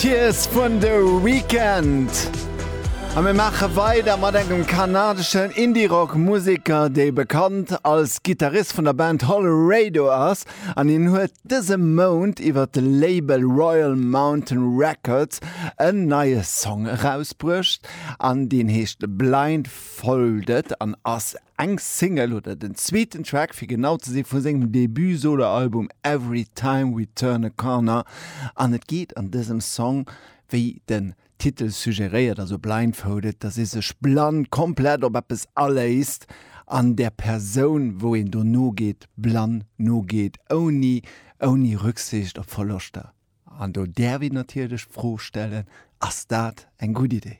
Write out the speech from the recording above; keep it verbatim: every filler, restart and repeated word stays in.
Tears vun The Weeknd. A mir maache weider mat engem kanadeschen Indie-Rock-Museker, dee bekannt als Gittarist vun der Band Hollerado ass. An hien huet dëse Mount iwwer de Label Royal Mountain Records en neie Song erausbruecht an deen heescht Blindfolded an ass eng Single oder den zweeten Track fir genau ze sinn vu sengem Debut-Soloalbum Every Time We Turn a Corner. An et geet an dësem Song wéi den Titel suggeréiert, also blindfolded, dass ee sech blann komplett op eppes aléisst an der Persoun, wou een do nogeet, blann nogeet, ouni ouni Rücksicht op Verloschter. An do däerf een natierlech d'Fro stellen, ass dat eng gutt Idee?